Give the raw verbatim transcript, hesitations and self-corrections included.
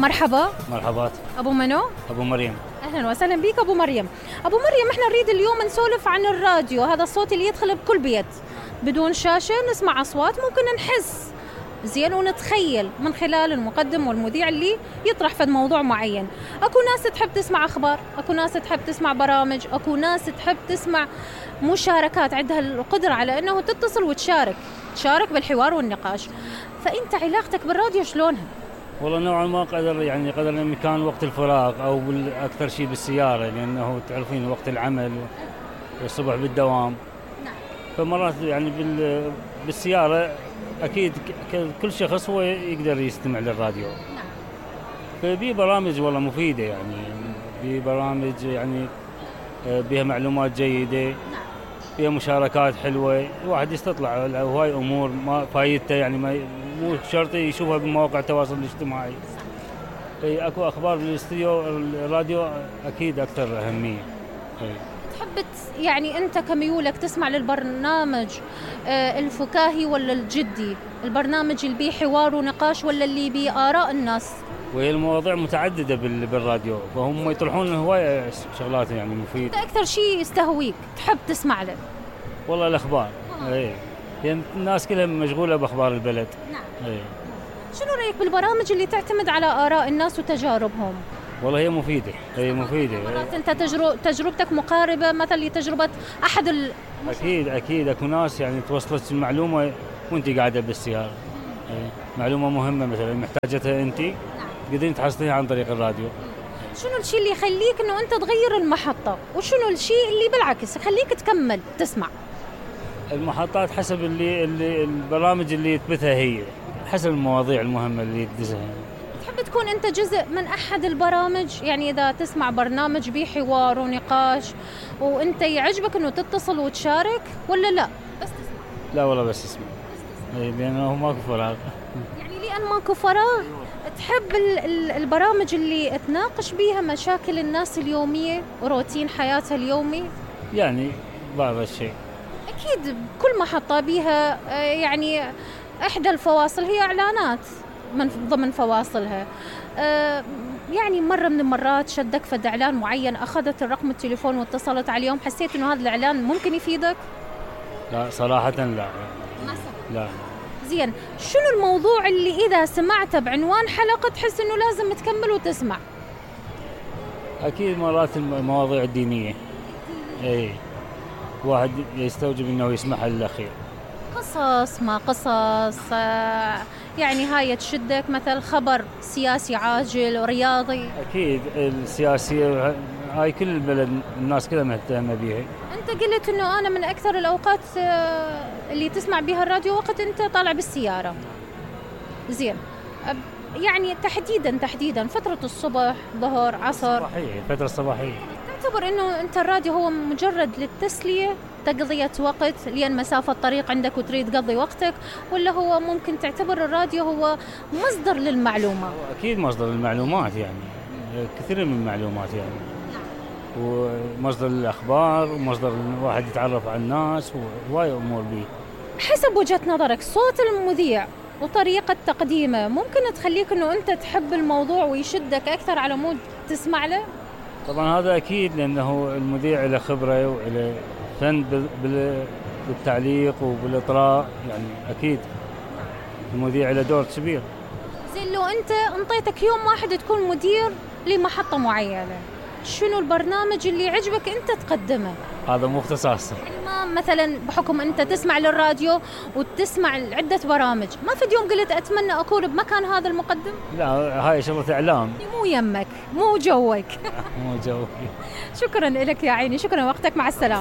مرحبا. مرحبات. أبو منو؟ أبو مريم. أهلا وسهلا بك أبو مريم. أبو مريم، إحنا نريد اليوم نسولف عن الراديو، هذا الصوت اللي يدخل بكل بيت بدون شاشة، نسمع أصوات ممكن نحس زين ونتخيل من خلال المقدم والمذيع اللي يطرح في موضوع معين. أكو ناس تحب تسمع أخبار، أكو ناس تحب تسمع برامج، أكو ناس تحب تسمع مشاركات، عندها القدرة على أنه تتصل وتشارك تشارك بالحوار والنقاش. فأنت علاقتك بالراديو شلونها؟ والله نوعا ما قدر يعني قدر الإمكان وقت الفراغ أو أكثر شيء بالسيارة، لأنه تعرفين وقت العمل والصبح بالدوام. نعم. فمرات يعني بالسيارة أكيد كل شخص هو يقدر يستمع للراديو. نعم. فبي برامج والله مفيدة، يعني بي برامج يعني بها معلومات جيدة. نعم. بها مشاركات حلوة، الواحد يستطلع هواي أمور ما فايدته، يعني ما مو شرط يشوفها بمواقع التواصل الاجتماعي. اي اكو اخبار بالاستديو، الراديو اكيد اكثر اهميه. تحب يعني انت كميولك تسمع للبرنامج آه الفكاهي ولا الجدي؟ البرنامج اللي بيه حوار ونقاش ولا اللي بيه آراء الناس؟ وهي المواضيع متعدده بالراديو، فهم يطرحون هوايه شغلات يعني مفيده. انت اكثر شيء يستهويك تحب تسمع له؟ والله الاخبار. آه. اي يعني الناس كلها مشغوله باخبار البلد. نعم. اي. شنو رأيك بالبرامج اللي تعتمد على آراء الناس وتجاربهم؟ والله هي مفيدة، هي مفيدة. مرات أنت تجرب تجربتك مقاربة مثلا لتجربة أحد ال أكيد أكيد أكو ناس يعني توصلت المعلومة وأنت قاعدة بالسيارة. معلومة مهمة مثلا محتاجتها أنت. نعم. تقدرين تحصليها عن طريق الراديو. شنو الشيء اللي يخليك إنه أنت تغير المحطة، وشنو الشيء اللي بالعكس يخليك تكمل تسمع؟ المحطات حسب اللي, اللي البرامج اللي تبثها هي، حسب المواضيع المهمة اللي تدزها. تحب تكون أنت جزء من أحد البرامج؟ يعني إذا تسمع برنامج بيه حوار ونقاش وأنت يعجبك إنه تتصل وتشارك ولا لا؟ بس تسمع؟ لا والله بس اسمع. لأنه ماكو فراغ. يعني لأن ماكو فراغ. تحب البرامج اللي تناقش بيها مشاكل الناس اليومية وروتين حياتها اليومي؟ يعني بعض الشيء. أكيد كل محطة بيها يعني إحدى الفواصل هي إعلانات من ضمن فواصلها. أه يعني مرة من المرات شدك فد إعلان معين، أخذت الرقم التليفون واتصلت عليهم، حسيت إنه هذا الإعلان ممكن يفيدك؟ لا صراحة لا. ما لا. زين، شنو الموضوع اللي إذا سمعته بعنوان حلقة تحس إنه لازم تكمل وتسمع؟ أكيد مرات المواضيع الدينية. إيه. واحد يستوجب إنه يسمعها للأخير. قصص ما قصص يعني هاي تشدك، مثل خبر سياسي عاجل ورياضي؟ أكيد السياسية هاي كل البلد الناس كلها مهتمة بيها. أنت قلت إنه أنا من أكثر الأوقات اللي تسمع بها الراديو وقت أنت طالع بالسيارة. زين، يعني تحديدا تحديدا فترة الصبح، ظهر، عصر؟ صباحية، الفترة الصباحية. تعتبر إنه أنت الراديو هو مجرد للتسلية، تقضية وقت لأن مسافة طريق عندك وتريد تقضي وقتك، ولا هو ممكن تعتبر الراديو هو مصدر للمعلومة؟ أكيد مصدر للمعلومات، يعني كثير من المعلومات يعني. ومصدر للأخبار ومصدر الواحد يتعرف على الناس وهواي أمور بيه. حسب وجهة نظرك صوت المذيع وطريقة تقديمه ممكن تخليك إنه أنت تحب الموضوع ويشدك أكثر على مود تسمع له؟ طبعا هذا أكيد، لأنه المذيع له خبرة وله فن بالتعليق وبالإطراء، يعني أكيد المذيع له دور كبير. زين، لو أنت انطيتك يوم واحد تكون مدير لمحطة معينة، شنو البرنامج اللي عجبك أنت تقدمه؟ هذا مو اختصاصي. يعني ما مثلا بحكم أنت تسمع للراديو وتسمع عدة برامج، ما في يوم قلت أتمنى أكون بمكان هذا المقدم؟ لا، هاي شغلة إعلام. مو يمك، مو جوك. مو جوك. شكرا لك يا عيني، شكرا وقتك، مع السلامة.